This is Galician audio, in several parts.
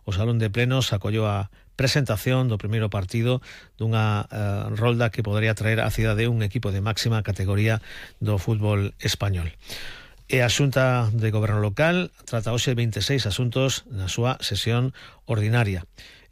o Salón de Plenos acollou a presentación do primeiro partido dunha rolda que podería traer á cidade un equipo de máxima categoría do fútbol español. E a Xunta de Goberno Local trata hoxe 26 asuntos na súa sesión ordinaria.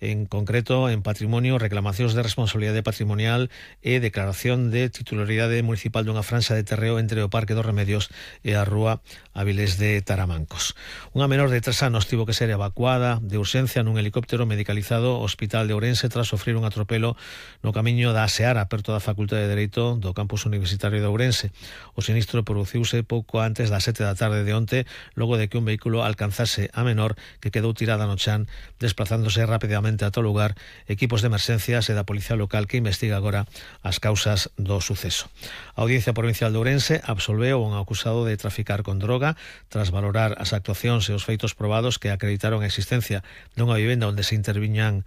En concreto, en patrimonio, reclamacións de responsabilidade patrimonial e declaración de titularidade municipal dunha franxa de terreo entre o Parque dos Remedios e a Rúa Avilés de Taramancos. Unha menor de 3 anos tivo que ser evacuada de urxencia nun helicóptero medicalizado ao Hospital de Ourense tras sofrir un atropelo no camiño da Seara, perto da Facultade de Dereito do campus universitario de Ourense. O sinistro produciuse pouco antes das 7 da tarde de onte, logo de que un vehículo alcanzase a menor que quedou tirada no chan, desplazándose rapidamente a todo lugar equipos de emerxencias e da Policía Local que investiga agora as causas do suceso. A Audiencia Provincial de Ourense absolveu a un acusado de traficar con droga tras valorar as actuacións e os feitos probados que acreditaron a existencia dunha vivenda onde se interviñan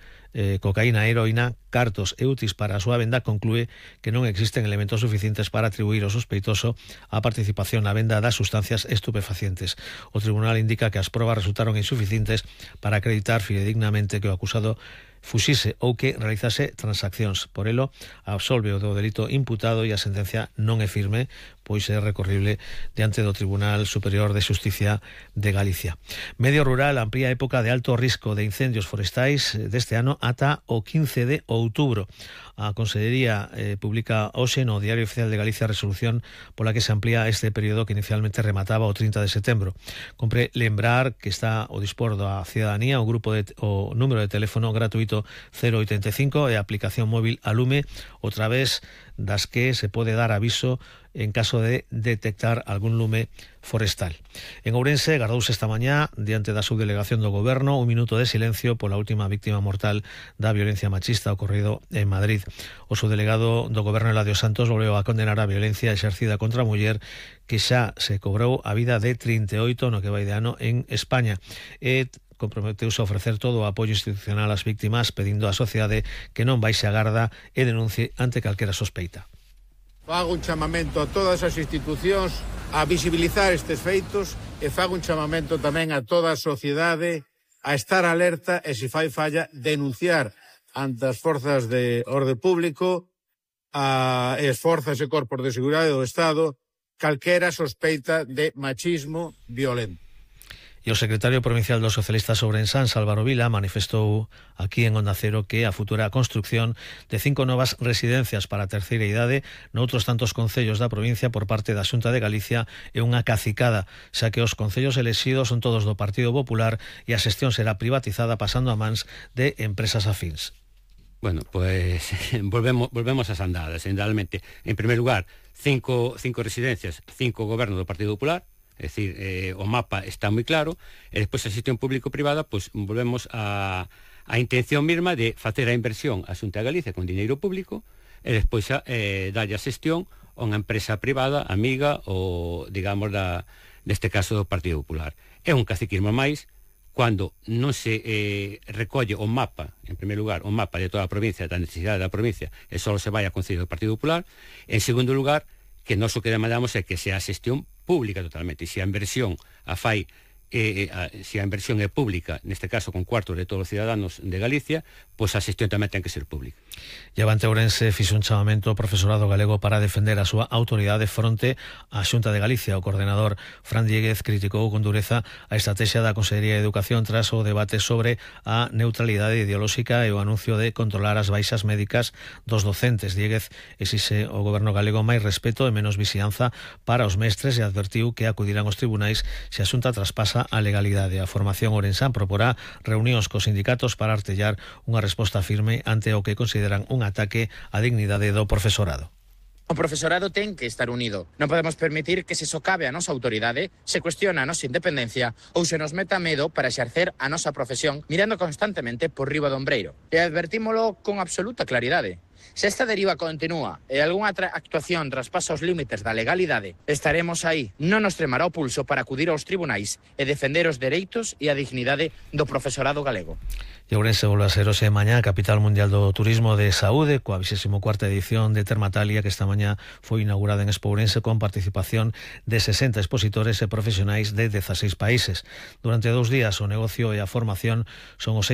cocaína e heroína, cartos e útiles para a súa venda. Conclúe que non existen elementos suficientes para atribuir ao sospeitoso a participación na venda das sustancias estupefacientes. O tribunal indica que as probas resultaron insuficientes para acreditar fidedignamente que o acusado fuxise ou que realizase transaccións. Por elo, absolve o do delito imputado e a sentencia non é firme, pois é recorrible diante do Tribunal Superior de Xusticia de Galicia. Medio Rural amplía a época de alto risco de incendios forestais deste ano ata o 15 de outubro. A Consellería publica hoxe no Diario Oficial de Galicia a resolución pola que se amplía este período que inicialmente remataba o 30 de setembro. Compre lembrar que está ao dispor da cidadanía o número de teléfono gratuito 085 e a aplicación móvil Alume, o través das que se pode dar aviso en caso de detectar algún lume forestal. En Ourense gardouse esta mañá, diante da subdelegación do Goberno, un minuto de silencio pola última víctima mortal da violencia machista ocorrido en Madrid. O subdelegado do Goberno, Eladio Santos, volveu a condenar a violencia exercida contra a muller que xa se cobrou a vida de 38 no que vai de ano en España. E comprometeuse a ofrecer todo o apoio institucional ás víctimas, pedindo á sociedade que non baixe a garda e denuncie ante calquera sospeita. Fago un chamamento a todas as institucións a visibilizar estes feitos e fago un chamamento tamén a toda a sociedade a estar alerta e, se fai falla, denunciar ante as forzas de orde público e as forzas e corpos de seguridade do Estado calquera sospeita de machismo violento. E o secretario provincial dos socialistas ourensán, Álvaro Vila, manifestou aquí en Onda Cero que a futura construcción de 5 novas residencias para a terceira idade noutros tantos concellos da provincia por parte da Xunta de Galicia é unha cacicada, xa que os concellos elexidos son todos do Partido Popular e a xestión será privatizada pasando a mans de empresas afíns. Bueno, pues volvemos ás andadas, realmente. En primer lugar, 5 residencias, 5 gobernos do Partido Popular. É dicir, o mapa está moi claro, e despois a xestión público-privada, pois volvemos a intención mesma de facer a inversión a Xunta de Galicia con diñeiro público e despois dalle a xestión a unha empresa privada, amiga ou, digamos, neste caso do Partido Popular. É un caciquismo máis cando non se recolle o mapa, en primer lugar, o mapa de toda a provincia, da necesidade da provincia, e só se vai a Concello do Partido Popular. En segundo lugar, que nós o que demandamos é que sea a xestión pública totalmente, e se a inversión se a inversión é pública, neste caso con cuartos de todos os ciudadanos de Galicia, pois a xestión tamén ten que ser pública. E Avante Ourense fixo un chamamento ao profesorado galego para defender a súa autoridade fronte á Xunta de Galicia. O coordenador Fran Dieguez criticou con dureza a estrategia da Consellería de Educación tras o debate sobre a neutralidade ideolóxica e o anuncio de controlar as baixas médicas dos docentes. Dieguez exixe ao goberno galego máis respeto e menos vixianza para os mestres e advertiu que acudirán aos tribunais se a Xunta traspasa a legalidade. A formación ourensán proporá reunións cos sindicatos para artellar unha resposta firme ante o que consideran un ataque á dignidade do profesorado. O profesorado ten que estar unido. Non podemos permitir que se socave a nosa autoridade, se cuestiona a nosa independencia ou se nos meta medo para exercer a nosa profesión mirando constantemente por riba do ombreiro. E advertímolo con absoluta claridade. Se esta deriva continúa e algunha actuación traspasa os límites da legalidade, estaremos aí. Non nos tremará o pulso para acudir aos tribunais e defender os dereitos e a dignidade do profesorado galego. E Ourense volve a ser hoxe mañá a capital mundial do turismo de saúde, coa 24ª edición de Termatalia, que esta mañá foi inaugurada en Expo Ourense con participación de 60 expositores e profesionais de 16 países. Durante 2 días o negocio e a formación son os